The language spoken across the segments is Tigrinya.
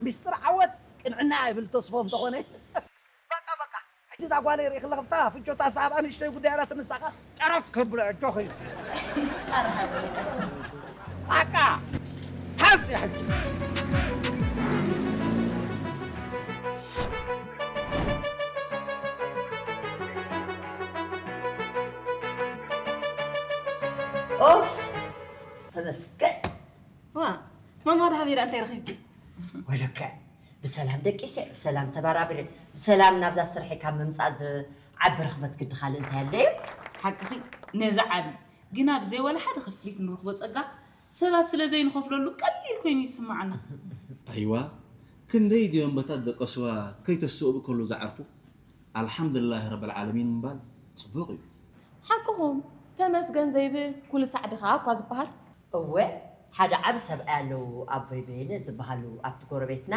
ሚስጥር ዓወት ቅንዕና ይብል ተስፎ እንተኾነ። በቃ በቃ፣ ሕጂ እዛ ጓለይ ርኢ ከለኺ ብታ ፍጆታ ሳብ ንእሽተይ ጉዳይ ኣላ ትንሳኻ ጨረፍ ከብሎ ኣጆኺ። በቃ ሓስ ሕጂ። ኦፍ፣ ተመስገን። ዋ፣ ማማ ደሃብ ኢላ እንታይ ረኺብኪ? ወይለከ፣ ብሰላም ደቂሰ፣ ብሰላም ተባራብረ፣ ብሰላም ናብዛ ስርሐይ ካብ ምምፃእ ዝዓቢ ርኽበት ግዲ ካልእ እንታይ ኣለዩ? ሓቅኺ፣ ነዚ ዓቢ ግና ብዘይ ወላ ሓደ ክፍሊት ንረኽቦ ጸጋ ሰባት ስለ ዘይንኸፍለሉ ቀሊል ኮይኑ ይስምዓና። ኣይዋ፣ ክንደይ ድዮም በታ ደቀስዋ ከይተስእቡ ከሉ ዝዓርፉ። ኣልሓምዱላህ ረብል ዓለሚን ምባል ጽቡቕ እዩ። ሓቅኹም፣ ተመስገን ዘይብል ኩሉ ሳዕ ድኻ እኳ ዝበሃል። እወ፣ ሓደ ዓቢ ሰብኣይ ኣለዉ ኣቦይ በየነ ዝበሃሉ ኣብቲ ጎረቤትና።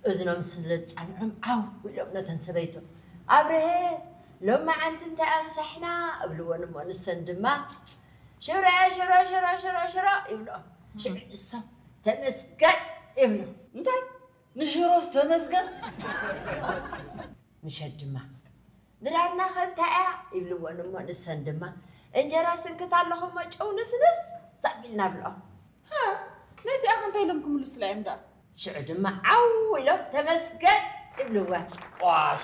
እዝኖም ስለ ዝጸንዖም ዓው ኢሎም ነተን ሰበይቶም ኣብርሀ ሎማዓንቲ እንታይ ኣምሳሕና እብልወን እሞ ንሰን ድማ ሽረ ሽረ ሽረ ሽረ ሽረ ይብልኦም። ሽዑ ንሶም ተመስገን ይብሉ። እንታይ ንሽሮስ ተመስገን። ምሸት ድማ ድራርና ከ እንታይ እያ ይብልወን እሞ ንሰን ድማ እንጀራ ስንክት ኣለኹ እሞ ጨው ንስንስ ኣቢልና ብልኦም። ነዚኣ ከ እንታይ ኢሎም ክምልሱላ እዮም ደኣ? ሽዑ ድማ ዓው ኢሎም ተመስገን ይብልወን። ዋይ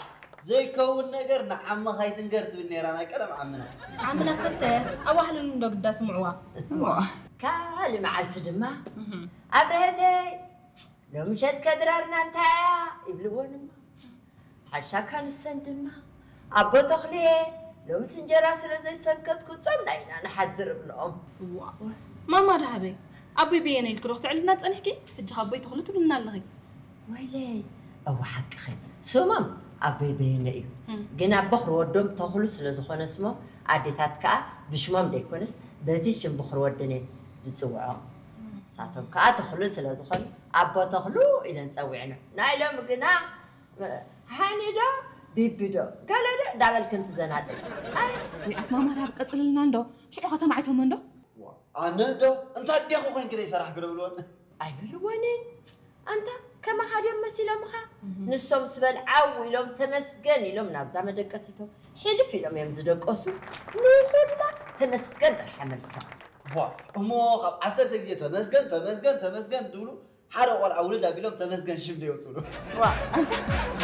ዘይከውን ነገር ንዓምኻ ኣይትንገር ትብል ነይራ ናይ ቀደም ዓምና። ዓምና ሰተ ኣዋህልሉ እንዶ ግዳ ስምዕዋ። ካልእ መዓልቲ ድማ ኣብርሀተይ ሎምሸት ከድራርና እንታይ እያ ይብልወን እሞ ሓሻካ ንሰን ድማ ኣቦ ተኽልየ ሎምስ እንጀራ ስለ ዘይሰንከትኩ ጾምና ኢና ንሓድር እብልኦም። ማማ ደሃበይ ኣቦይ በየነ ኢልኪ ዶ ክትዕልና ጸኒሕኪ? ሕጂ ካብ ኣቦይ ተኽሉ ትብልና ኣለኺ። ወይለይ እወ ሓቅኺ ስሞም ኣቦይ በየነ እዩ። ግን ኣቦ ክሪ ወዶም ተኽሉ ስለ ዝኾነ ስሞም ኣዴታት ከኣ ብሽሞም ዘይኮነስ በቲ ሽም ብኽሪ ወደን እየን ዝጽውዖም። ንሳቶም ከኣ ተኽሉ ስለ ዝኾኑ ኣቦ ተኽሉ ኢለን ጸዊዕኖም። ናይ ሎሚ ግና ሃኒ ዶ ቢቢ ዶ ገለ ዶ እንዳበልክን ትዘናጠ። ኣይ ዊኣት ማማር ኣብ ቀጽልልና እንዶ ሽዑ ከተማዒቶሞ እንዶ። ኣነ ዶ እንታይ ዲኹ ኮንኪ ደይ ሰራሕ ክደብልወን። ኣይብልወንን ኣንታ ከማኻ ድዮም መሲሎምኻ? ንሶም ስበል ዓው ኢሎም ተመስገን ኢሎም ናብዛ መደቀሲቶም ሕልፍ ኢሎም እዮም ዝደቀሱ። ንኹላ ተመስገን ጥራሕ መልሶም። ቧ እሞ ካብ ዓሰርተ ግዜ ተመስገን ተመስገን ተመስገን ትብሉ ሓደ ቆልዓ ውልድ ኣቢሎም ተመስገን ሽም ዶ የውፅሉ። ዋ ኣንታ